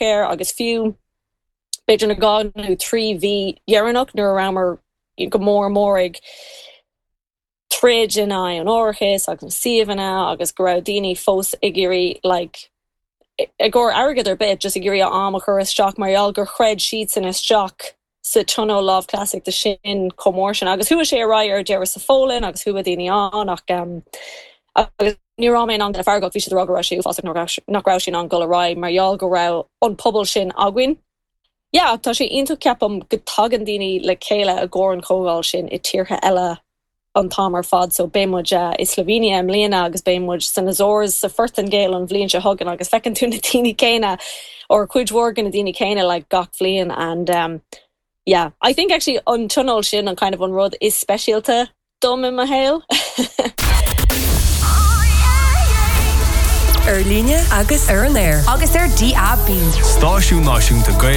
air agus fiú b'fhéidir na 2 nó 3 mhí dheireanach nuair a rabhamar go mór mór ag troid in aghaidh an árachais agus na suíomhanna agus go raibh daoine fós ag iarraidh like i gcomhair airgead ar bith just ag iarraidh a am a chur isteach mar gheall gur chreid siadsan isteach sa tionól lámhchleasaíochta sin chomh mór sin. Agus chuaigh sé ar aghaidh ar deireadh sa Pholainn agus chuaigh daoine ann ach agus ní raibh mé in ann duine feargach, bhí siad ag rá go raibh sé uafásach nach raibh sé in ann dul ar aghaidh mar gheall go raibh an pobal sin againn. Yeah, tá sé iontach ceapaim go dtagann daoine le chéile i gcomhair an chomhdháil sin i tíortha eile an t-am ar fad so beidh muid i Slovenia i mbliana agus beidh muid san Azores sa Phortaingéil an bhliain seo chugainn agus feiceann tú na daoine céanna or cuid mhór de na daoine céanna like gach bhliain and um, yeah I think actually an tionól sin an kind of an rud is speisialta dom i mo shaol. Ar líne agus ar an aer. Agus ar DAB. Stáisiún Náisiúnta Gaeilge.